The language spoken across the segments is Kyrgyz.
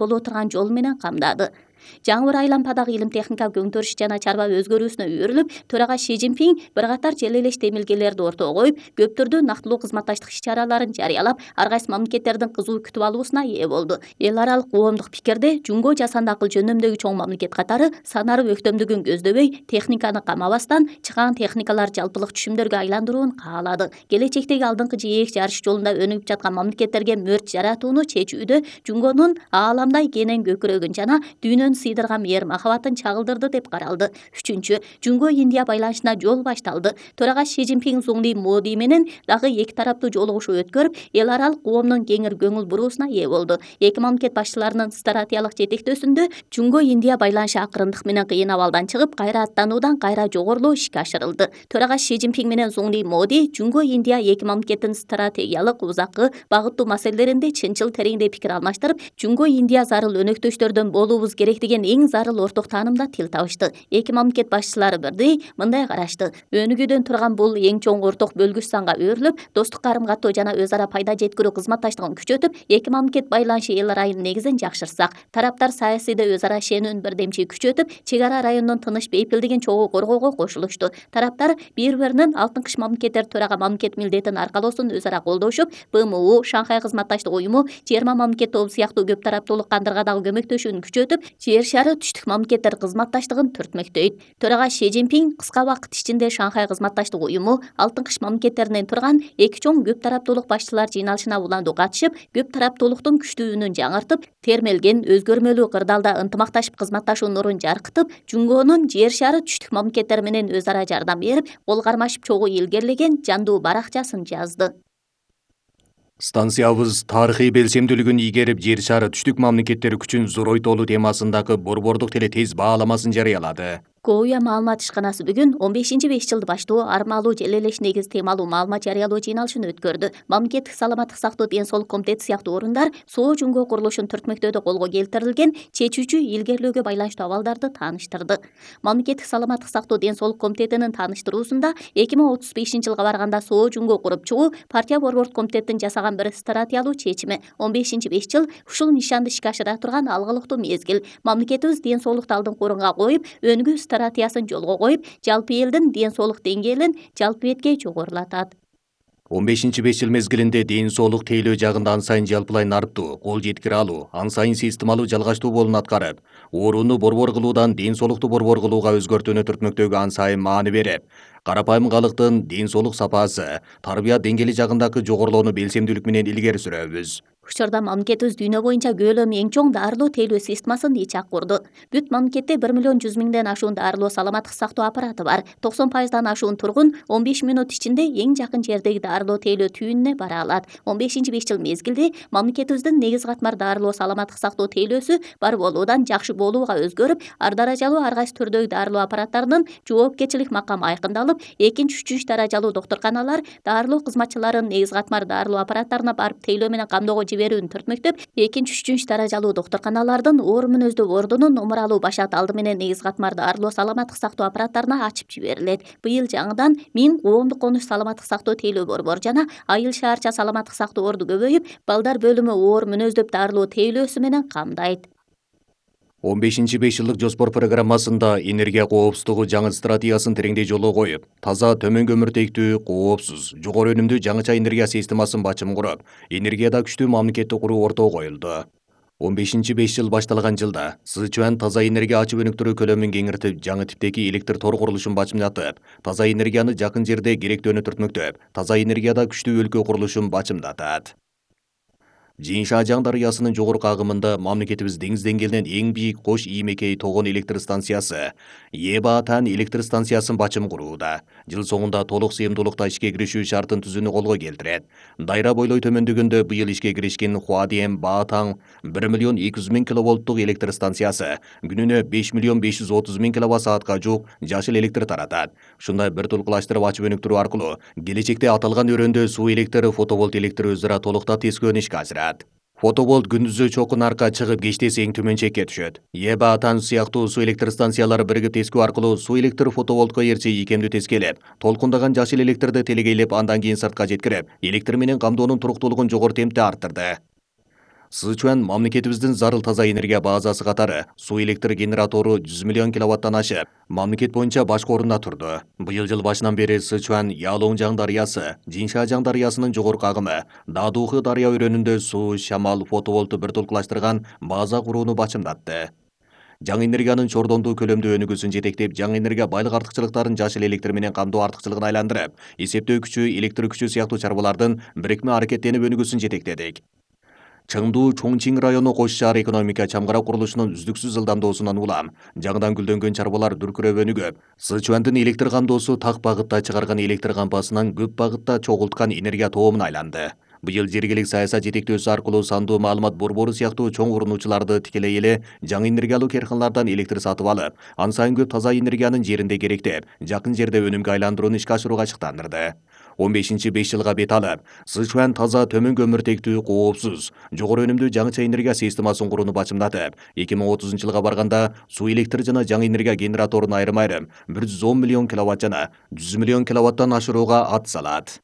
боло турган жол менен камдады. Жаңы бір айлампадагы илим техника көңтөрүш жана чарба өзгөрүүсүнө үйрүлүп, төрага Ши Цзиньпин бир катар желелеш демилгелерди ортого коюп, көп түрдүү нактылуу кызматташтык иш-чараларын жарыялап, ар кайсы мамлекеттердин кызуу күтүп алуусуна ээ болду. Эл аралык коомдук пикирде Жунго жасанды акыл жөнүндөгү чоң мамлекет катары санарып өктөмдүгүн көздөбөй, техниканы камабастан чыгаан техникалар жалпылык түшүмдөргө айландырууну каалады. Келечектеги алдыңкы жээк жарыш жолунда өнүгүп жаткан мамлекеттерге мөрт жаратууну чечүүдө Жунгонун ааламдай кенен көкүрөгүн жана дүйнөнү сыйдырган мээр махабатын чагылдырды деп каралды. Үчүнчү, Жунго-Индия байланышына жол башталды. Төрага Ши Цзиньпин Зуңли Моди менен дагы эки тараптуу жолугушуу өткөрүп, эл аралык коомдун кеңир көңүл буруусуна ээ болду. Эки мамлекет башчыларынын стратегиялык жетектөөсүндө Жунго-Индия байланышы акырындык менен кыйын абалдан чыгып, кайра аттануудан кайра жогорулоо ишке ашырылды. Төрага Ши Цзиньпин менен Зуңли Моди Жунго-Индия эки мамлекеттин стратегиялык, узаккы, багыттуу маселелеринде чынчыл тереңдей пикир алмаштырып, Жунго-Индия зарыл өнөктөштөрдөн болуубуз керек деген эң зарыл орток таанымда тил табышты. Эки мамлекет башчылары бирдей мындай карашты. Өнүгүүдөн турган бул эң чоң орток бөлгүч санга өөрүлүп, достук карым-каттоо жана өз ара пайда жеткирүү кызматташтыгын күчөтүп, эки мамлекет байланышы эл районунун негизин жакшыртсак, тараптар саясийде өз ара ишенүүнү бирдемчи күчөтүп, чек ара районунун тыныч бейпилдигин чогуу коргоого кошулушту. Тараптар бири-биринин алтын кыш мамлекеттер төрага мамлекет милдетин аркалоосун өз ара колдошуп, БМУ, Шанхай кызматташтык уюму, G20 мамлекет тобу сыяктуу көп тараптуулук кандырга дагы көмөктөшүүнү күчөтүп, жер шары түштүк мамлекеттер кызматташтыгын түртмөктөйт. Төрага Ши Цзиньпин кыска убакыт ичинде Шанхай кызматташтык уюму, алтын кыш мамлекеттеринен турган эки чоң көп тараптуулук башчылар жыйналышына уландуу катышып, көп тараптуулуктун күчтүүлүгүн жаңыртып, термелген өзгөрмөлүү кырдаалда ынтымакташып кызматташуу нурун жаркытып, Жунгонун жер шары түштүк мамлекеттер менен өз ара жардам берип, кол кармашып чогуу илгерилеген жандуу баракчасын жазды. Станциябыз тарыхый белсемдүүлүгүн ийгерип, жер шары түштүк мамлекеттер күчүн зоройтолу темасындагы борбордук теле тез бааламасын жарыялады. Коуя маалымат ишканасы бүгүн 15-5 жылды баштоо армалуу желелеш негиз темалуу маалымат жарыялоо жыйналышын өткөрдү. Мамлекеттик саламаттык сактоо ден соолук комитети сыяктуу орундар Соо Жунго курулушун түртмөктөөдө колго келтирилген чечүүчү илгерилөөгө байланыштуу абалдарды тааныштырды. Мамлекеттик саламаттык сактоо ден соолук комитетинин тааныштыруусунда 2035-жылга барганда Соо Жунго куруп чыгуу партия борбордук комитеттин жасаган бир стратегиялуу чечими. 15-5 жыл ушул нишанды ишке ашыра турган алгылыктуу мезгил. Мамлекетибиз ден соолукту алдыңкы орунга коюп, өнүгүү стратегиясын жолго коюп, жалпы элдин ден соолук деңгээлин жалпы беткей жогорулатат. 15-5 жыл мезгилинде ден соолук тейлөө жагында ан сайын жалпылайн арттуу, кол жеткире алуу, ан сайын системалуу жалгаштуу болун аткарып, ооруну борбор кылуудан ден соолукту борбор кылууга өзгөртүүнү түртмөктөөгө ан сайын маани берип, карапайым калктын ден соолук сапасы, тарбия деңгээли жагындагы жогорулоону белсемдүүлүк менен илгери сүрөбүз. Учурда мамлекетибиз дүйнө боюнча көлөмү эң чоң дарылоо тейлөө системасын ичак курду. Бүт мамлекетте 1.100.000 ашуун дарылоо саламаттык сактоо аппараты бар. 90%дан ашуун тургун 15 минут ичинде эң жакын жердеги дарылоо тейлөө түйүнүнө бара алат. 15-5 жыл мезгилде мамлекетибиздин негиз катмар дарылоо саламаттык сактоо тейлөөсү бар болуудан жакшы болууга өзгөрүп, ар даражалуу ар кайсы түрдөгү дарылоо аппараттарынын жоопкерчилик макамы айкындалып, 2-3 даражалуу доктурканалар дарылоо кызматчыларынын негиз катмар дарылоо аппараттарына барып тейлөө менен камдоого жиберүүнү түртмөктөп, 2-3 даражалуу доктурканалардын оор мүнөздүү ордунун умуралуу башат алды менен негиз катмар дарылоо саламаттык сактоо аппараттарына ачып жиберилет. Быйыл жаңыдан 1000 коомдук конуш саламаттык сактоо тейлөө борбор жана айыл шаарча саламаттык сактоо орду көбөйүп, балдар бөлүмү оор мүнөздөп дарылоо тейлөөсү менен камдайт. 15-5 жылдык жоспор программасында энергия коопсуздугу жаңы стратегиясын тереңдей жолго коюп, таза, төмөн көмүртектүү, коопсуз, жогору өнүмдүү жаңыча энергия системасын бачым куруп, энергияда күчтүү мамлекетти куруу ортого коюлду. 15-5 жыл башталган жылда Сычуан таза энергия ачып өнүктүрүү көлөмүн кеңиртип, жаңы типтеги электр тор курулушун бачымдатып, таза энергияны жакын жерде керектөөнү түртмөктөп, таза энергияда күчтүү өлкө курулушун бачымдатат. Жиншажаң дарыясынын жогорку агымында мамлекетибиз деңиз деңгээлинен эң бийик Кош Иймекей тогон электр станциясы, Ебаатан электр станциясын бачым курууда. Жыл соңунда толук сыйымдуулукта ишке киришүү шартын түзүүнү колго келтирет. Дайра бойлой төмөндүгүндө быйыл ишке киришкен Хуадием Баатаң 1.200.000 киловолттук электр станциясы күнүнө 5.530.000 киловатт-саатка жуук жашыл электр таратат. Ушундай бир тулкулаштырып ачып өнүктүрүү аркылуу келечекте аталган өрөөндө суу электр, фотоволт электр өз ара толукта тескөөнү ишке ашырат. Фотоволт күндүзү чокун арка чыгып, кечте эң төмөн чекке түшөт. Ебаатан сыяктуу суу электр станциялары биригип тескөө аркылуу суу электр фотоволтко ээрчи ийкемдүү тескелеп, толкундаган жашыл электрди телегейлеп, андан кийин сыртка жеткирип, электр менен камдоонун туруктуулугун жогору темпте арттырды. Сычуан мамлекетибиздин зарыл таза энергия базасы катары суу электр генератору 100 миллион киловаттан ашып, мамлекет боюнча башкы орунда турду. Быйыл жыл башынан бери Сычуан Ялоңжаң дарыясы, Жиншажаң дарыясынын жогорку агымы, Дадухы дарыя өрөөнүндө суу, шамал, фотоволтту бир толкулаштырган база курууну бачымдатты. Жаңы энергиянын чордондуу көлөмдүү өнүгүүсүн жетектеп, жаңы энергия байлык артыкчылыктарын жашыл электр менен камтоо артыкчылыгына айландырып, эсептөө күчү, электр күчү сыяктуу чарбалардын бирикме аракеттенип өнүгүүсүн жетектедик. Чыңдуу Чоңчиң району кош шаар экономика чамгыра курулушунун үздүксүз ылдамдоосунан улам жаңыдан гүлдөнгөн чарбалар дүркүрөп өнүгүп, Сычуандын электр камдоосу так багытта чыгарган электр кампасынан көп багытта чогулткан энергия тоомуна айланды. Быйыл жергилик саясат жетектөөсү аркылуу сандуу маалымат борбору сыяктуу чоң урунуучуларды тикелей эле жаңы энергиялуу керканалардан электр сатып алып, ан сайын көп таза энергиянын жеринде керектеп, жакын жерде өнүмгө айландырууну ишке ашырууга чыктандырды. 15-5 жылга бет алып, Сычуан таза төмөн көмүртектүү, коопсуз, жогору өнүмдүү жаңыча энергия системасын курууну бачымдатып, 2030 жылга барганда суу электр жана жаңы энергия генераторун айрым-айрым 110 миллион киловатт жана 100 миллион киловаттан ашырууга ат салат.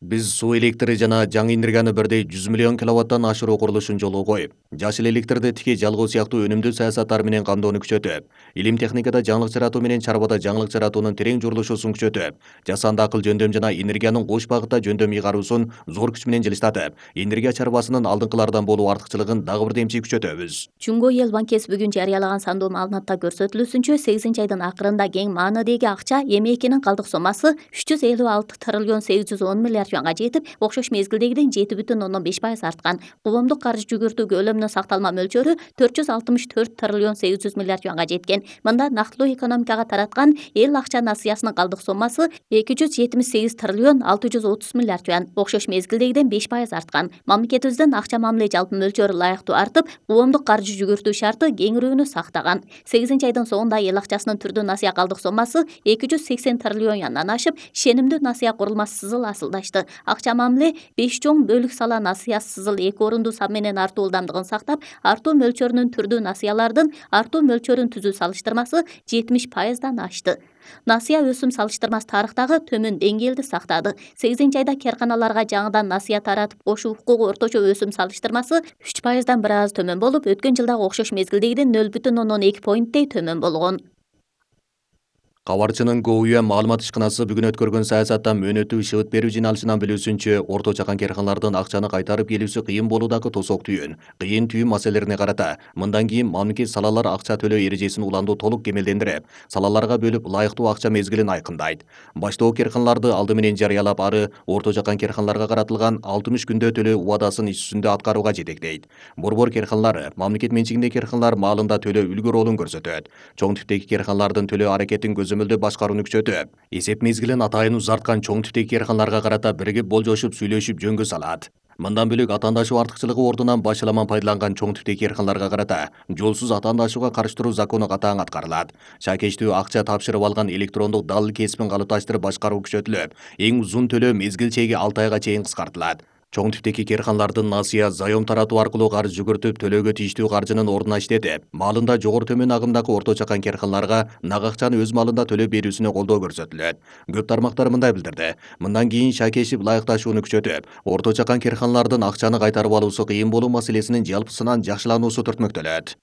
Биз суу электри жана жаңы энергияны бирдей 100 миллион киловаттан ашыруу курулушун жолго коюп, жашыл электрди тике жалгоо сыяктуу өнүмдүү саясаттар менен камдоону күчөтүп, илим техникада жаңылык жаратуу менен чарбада жаңылык жаратуунун терең журулушусун күчөтүп, жасанды акыл жөндөм жана энергиянын кош багытта жөндөм ыйгаруусун зор күч менен жылыштатып, энергия чарбасынын алдыңкылардан болуу артыкчылыгын дагы бир демчи күчөтөбүз. Чуңго эл банкеси бүгүн жарыялаган сандуу маалыматта көрсөтүлүүсүнчө 8-айдын акырында кең маанидеги акча эмекинин калдык сомасы 356 триллион 810 миллиард юанга жетип, окшош мезгилдегиден 7,5% арткан. Коомдук каржы жүгүртүү көлөмүнүн сакталма мөлчөрү 464 триллион 800 миллиард юанга жеткен. Мында нактылуу экономикага тараткан эл акча насыясынын калдык сомасы 278 триллион 630 миллиард юан, окшош мезгилдегиден 5% арткан. Мамлекетибиздин акча мамиле жалпы мөлчөрү ылайыктуу артып, коомдук каржы жүгүртүү шарты кеңирүүнү сактаган. 8-айдын соңунда эл акчасынын түрдүү насыя калдык сомасы 280 триллион юандан ашып, ишенимдүү насыя курулмасы сызыл асылдашты. Акча мамиле 5 чоң бөлүк сала насыясы сызыл 2 орунду сан менен артуу ылдамдыгын сактап, артуу мөлчөрүнүн түрдүү насыялардын артуу мөлчөрүн түзүү салыштырмасы 70%дан ашты. Насыя өсүм салыштырмасы тарыхтагы төмөн деңгээлди сактады. 8-айда керканаларга жаңыдан насыя таратып кошуу укугу орточо өсүм салыштырмасы 3%дан бир аз төмөн болуп, өткөн жылдагы окшош мезгилдегиден 0,2 поинттей төмөн болгон. Кабарчынын Гоуюан маалымат ишканасы бүгүн өткөргөн саясаттан мөөнөтүү шыбыт берүү жыйналышынан билүүсүнчө, орто чакан керканалардын акчаны кайтарып келүүсү кыйын болуудагы тосок түйүн, кыйын түйүн маселелерине карата мындан кийин мамлекет салалар акча төлөө эрежесин уланду толук кемелдендирип, салаларга бөлүп ылайыктуу акча мезгилин айкындайт. Баштоо керканаларды алды менен жарыялап, ары орто чакан керканаларга каратылган 60 күндө төлөө убадасын иш жүзүндө аткарууга жетектейт. Борбор керканалары, мамлекет менчигиндеги керканалар маалында төлөө үлгү ролун көрсөтөт. Чоң типтеги керканалардын төлөө аракетин көзөмөлдөө башкарууну күчөтүп, эсеп мезгилин атайын узарткан чоң типтеги керканаларга карата биригип болжошуп сүйлөшүп жөнгө салат. Мындан бөлөк атаандашуу артыкчылыгы ордунан башаламан пайдаланган чоң типтеги керканаларга карата жолсуз атаандашууга карыштыруу закону катаң аткарылат. Шакечтүү акча тапшырып алган электрондук далил кесипин калыпташтырып башкаруу күчөтүлүп, эң узун төлөө мезгил чеги 6 айга чейин кыскартылат. Чоң типтеги керканалардын насыя заем таратуу аркылуу карыз жүгүртүп, төлөөгө тийиштүү каржынын ордуна иштетип, маалында жогору төмөн агымдагы орто чакан керканаларга нак акчаны өз маалында төлөп берүүсүнө колдоо көрсөтүлөт. Көп тармактар мындай билдирди. Мындан кийин шакешип ылайыкташууну күчөтүп, орто чакан керканалардын акчаны кайтарып алуусу кыйын болуу маселесинин жалпысынан жакшылануусу түртмөктөлөт.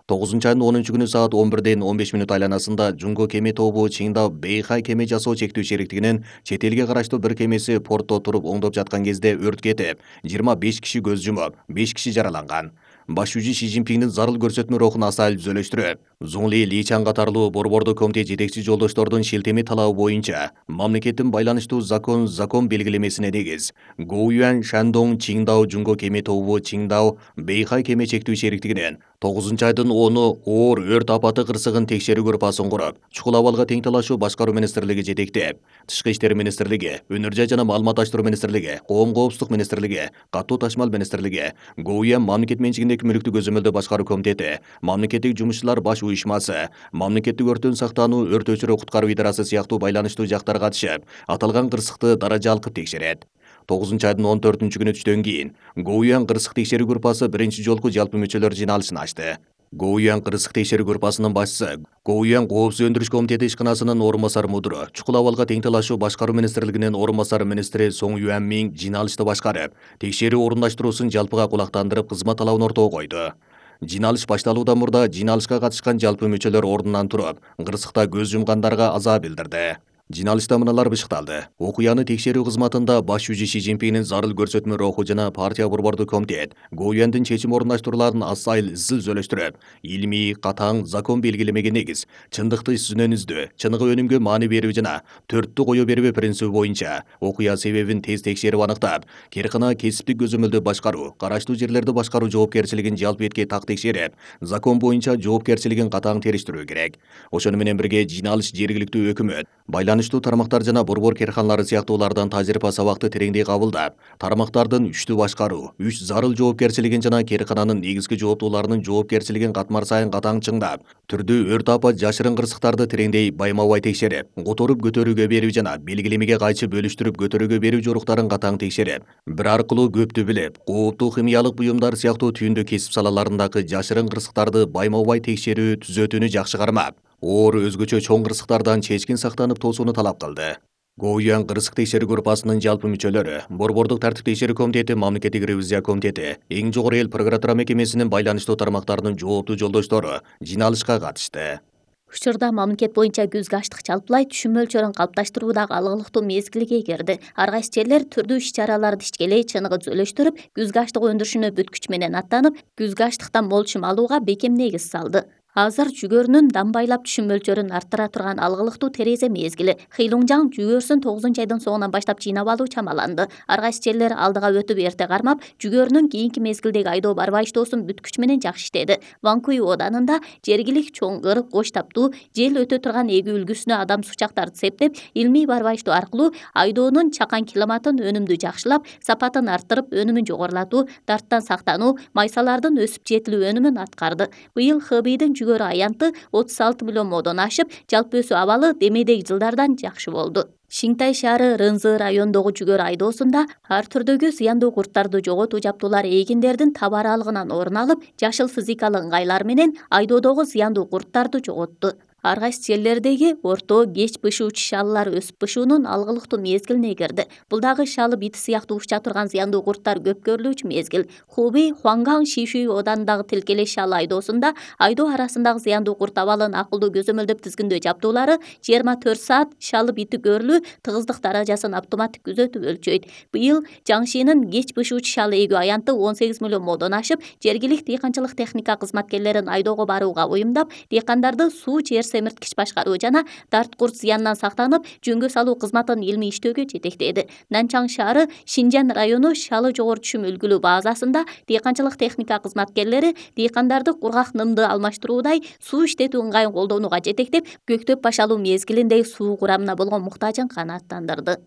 9-айдын 10-күнү саат 11:15 айланасында Жунго кеме тобу Чиңдау Бэйхай кеме жасоо чектүү шериктигинин чет элге караштуу бир кемеси портто туруп оңдоп жаткан кезде өрт кетип, 25 киши көз жумуп, 5 киши жараланган. Баш жүзү Ши Цзиньпиндин зарыл көрсөтмө рухун асайл түзөлөштүрүп, Зуңли Личан катарлуу борбордук комитет жетекчи жолдоштордун шилтеме талабы боюнча мамлекеттин байланыштуу закон белгилемесине негиз Гоуюан Шандong Чиңдау Жунго кеме тобу Чиңдау Бэйхай кеме чектүү шериктигинин 9-айдын 10-у оор өрт апаты кырсыгын текшерүү группасын куруп, чукул абалга тең талашуу башкаруу министрлиги жетектеп, Тышкы иштер министрлиги, Өнөр жай жана маалыматташтыруу министрлиги, Коом коопсуздук министрлиги, Катуу ташмал министрлиги, Гоуюан мамлекет менчигиндеги мүлүктү көзөмөлдөө башкаруу комитети, мамлекеттик жумушчулар баш уюшмасы, мамлекеттик өрттөн сактануу, өрт өчүрүү куткаруу идарасы сыяктуу байланыштуу жактар катышып, аталган кырсыкты даража алкып текшерет. 9-айдын 14-күнү түштөн кийин Гоуюан кырсык текшерүү группасы биринчи жолку жалпы мүчөлөр жыйналышын ачты. Гоуян кырсык текшерүү группасынын башчысы, Гоуян коопсуз өндүрүш комитети ишканасынын орун басары мудуру, чукул абалга тең талашуу башкаруу министрлигинин орун басары министри Соң Юанмин жыйналышты башкарып, текшерүү орундашуусун жалпыга кулактандырып кызмат талабын ортого койду. Жыйналыш башталуудан мурда жыйналышка катышкан жалпы мүчөлөр ордунан туруп, кырсыкта көз жумгандарга азаа билдирди. Жыйналышта мыналар бышыкталды. Окуяны текшерүү кызматында баш жүзү Си Цзиньпиндин зарыл көрсөтмө руху жана партия борбордук комитет Гоуяндын чечим орундаштрууларын асайыл изил зөлөштүрүп, илмий, катаң, закон белгилемеге негиз, чындыкты сүнөн издөө, чыныгы өнүмгө маани берүү жана төрттү кое бербөө принциби боюнча окуя себебин тез текшерип аныктап, керкана кесиптик көзөмөлдө башкаруу, караштуу жерлерди башкаруу жоопкерчилигин жалпы этке так текшерип, закон боюнча жоопкерчилигин катаң териштирүү керек. Ошону менен бирге жыйналыш жергиликтүү өкмөт, байланыштуу тармактар жана борбор керканалары сыяктуулардан тажрыйба сабакты тереңдей кабылдап, тармактардын үчтү башкаруу, үч зарыл жоопкерчилигин жана керкананын негизги жооптууларынын жоопкерчилигин катмар сайын катаң чыңдап, түрдүү өрт апат жашырын кырсыктарды тереңдей байма-бай текшерип, которуп көтөрүүгө берүү жана белгилемеге кайчы бөлүштүрүп көтөрүүгө берүү жоруктарын катаң текшерип, бир аркылуу көптү билип, кооптуу химиялык буюмдар сыяктуу түйүндү кесип салаларындагы жашырын кырсыктарды байма-бай текшерүү түзөтүүнү жакшы кармап, оор өзгөчө чоң кырсыктардан чечкин сактанып тоосууну талап кылды. Гоуян кырсык текшерүү группасынын жалпы мүчөлөрү, борбордук тартип текшерүү комитети, мамлекеттик ревизия комитети, эң жогору эл прокуратура мекемесинин байланыштуу тармактарынын жооптуу жолдоштору жыйналышка катышты. Учурда мамлекет боюнча күзгү аштык жалпылай түшүм мөлчөрүн калыпташтыруудагы алгылыктуу мезгилге кирди. Ар кайсы жерлер түрдүү иш-чараларды ишкелей чыныгы зөлөштүрүп, күзгү аштык өндүрүшүнө бүткүч менен аттанып, күзгү аштыктан мол чым алууга бекем негиз салды. Азыр жүгөрүнүн дамбайлап түшүм мөлчөрүн арттыра турган алгылыктуу терезе мезгили. Хыйлуңжаң жүгөрүсүн 9-айдын соңунан баштап жыйнап алуу чамаланды. Ар кайсы жерлер алдыга өтүп эрте кармап, жүгөрүнүн кийинки мезгилдеги айдоо барбай иштоосун бүткүч менен жакшы иштеди. Ванкуй оданында жергилик чоңгыр, кош таптуу, жел өтө турган эгүү үлгүсүнө адам сучактарды септеп, илмий барбай иштөө аркылуу айдоонун чакан киломатын өнүмдү жакшылап, сапатын арттырып, өнүмүн жогорулатуу, дарттан сактануу, майсалардын өсүп жетилүү өнүмүн аткарды. Быйыл ХБИдин жүгөрү аянты 36 миллион модон ашып, жалпы өсүү абалы демейдеги жылдардан жакшы болду. Шинтай шаары Рынзы райондогу жүгөрү айдоосунда ар түрдөгү зыяндуу курттарды жоготуу жабдуулары эгиндердин таба аралыгынан орун алып, жашыл физикалык ыңгайлар менен айдоодогу зыяндуу курттарды жоготту. Ар кайсы жерлердеги орто, кеч бышуучу шалылар өсүп бышуунун алгылыктуу мезгилине кирди. Бул дагы шалы бит сыяктуу уча турган зыяндуу курттар көп көрүлүүчү мезгил. Хубей, Хуанган, Шишүй оданындагы тилкелеш шалы айдоосунда айдоо арасындагы зыяндуу курт абалын акылдуу көзөмөлдөп тизгиндөө жабдуулары 24 саат шалы бити көрүлүү тыгыздык даражасын автоматтык күзөтүп өлчөйт. Быйыл Жаңшинин кеч бышуучу шалы эгүү аянты 18 миллион модон ашып, жергилик дыйканчылык техника кызматкерлерин айдоого барууга уюмдап, дыйкандарды суу жер семирткич башкаруу жана дарт курт зыянынан сактанып, жөнгө салуу кызматын илмий иштөөгө жетектеди. Нанчаң шаары Шинжан району шалы жогору түшүм үлгүлүү базасында дыйканчылык техника кызматкерлери дыйкандарды кургак нымды алмаштыруудай суу иштетүү ыңгайын колдонууга жетектеп, көктөп башалуу мезгилинде суу курамына болгон муктажын канааттандырды.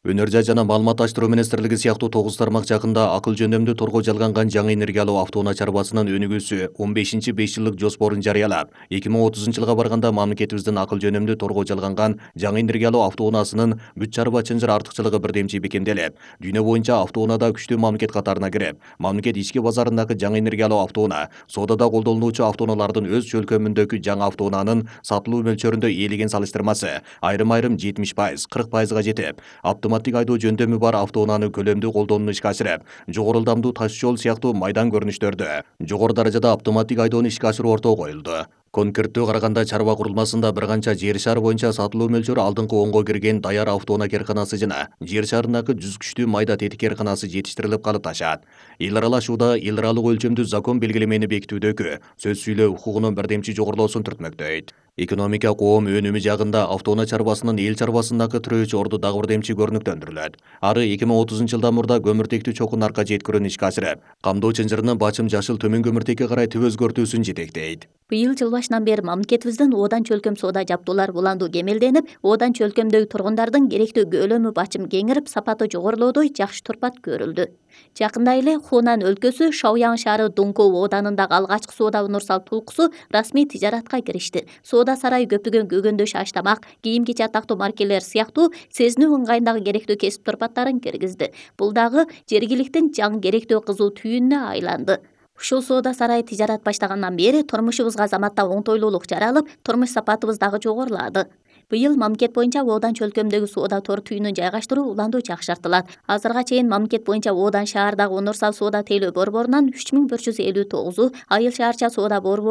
Өнөр жай жана маалыматташтыруу министрлиги сыяктуу 9 тармак жакында акыл жөндөмдү торгоо жалганган жаңы энергия алуу автоунаа чарбасынын өнүгүүсү 15-5 жылдык жоспорун жарыялап, 2030-жылга барганда мамлекетибиздин акыл жөнөмдү торгоо жалганган жаңы энергия алуу автоунаасынын бүт чарба чынжыр артыкчылыгы бирдемчи бекемделип, дүйнө боюнча автоунаада күчтүү мамлекет катарына кирип, мамлекет ички базарындагы жаңы энергия алуу автоунаа, соодада колдонулуучу автоунаалардын өз чөлкөмүндөгү жаңы автоунаанын сатылуу мөлчөрүндө ээлеген салыштырмасы айрым-айрым 70%, 40%га жетип, автоматтик айдоо жөндөмү бар автоунааны көлөмдүү колдонууну ишке ашырып, жогору ылдамдуу таш жол сыяктуу майдан көрүнүштөрдө жогору даражада автоматтик айдоону ишке ашыруу ортого коюлду. Конкреттүү караганда чарба курулмасында бир канча жер шаар боюнча сатылуу мөлчөрү алдыңкы 10го кирген даяр автоунаа керканасы жана жер шаарындагы 100 күчтүү майда тетик керканасы жетиштирилип калыпташат. Эл аралашууда эл аралык өлчөмдүү закон белгилемени бекитүүдөгү сөз сүйлөө укугунун бирдемчи жогорулоосун түртмөктөйт. Экономика коом өнүмү жагында автоунаа чарбасынын эл чарбасындагы тирөөчү орду дагы бирдемчи көрүнүктөндүрүлөт. Ары 2030-жылдан мурда көмүртектүү чокун арка жеткирүүнү ишке ашырып, камдоо чынжырынын бачым жашыл төмөн көмүртекке карай түп өзгөртүүсүн жетектейт. Быйыл жыл башынан бери мамлекетибиздин оодан чөлкөм соода жабдуулар уландуу кемелденип, оодан чөлкөмдөгү тургундардын керектүү көлөмү бачым кеңирип, сапаты жогорулоодой жакшы турпат көрүлдү. Жакында эле Хунан өлкөсү Шаоян шаары Дункоу ооданындагы алгачкы соода универсал толкусу расмий тижаратка киришти. Соода сарайы көптөгөн көгөндөш аш-тамак, кийим-кечи атактуу маркелер сыяктуу сезинүү ыңгайындагы керектүү кесип турпаттарын киргизди. Бул дагы жергиликтин жаңы керектүү кызуу түйүнүнө айланды. Ушул соода сарайы тижарат баштагандан бери турмушубузга заматта оңтойлуулук жаралып, турмуш сапатыбыз дагы жогорулады. Быйыл мамлекет боюнча оодан чөлкөмдөгү соода тор түйүнүн жайгаштыруу уланду жакшыртылат. Азырга чейин мамлекет боюнча оодан шаардагы Онурсал соода тейлөө борборунан 3159, Айыл шаарча соода борборунан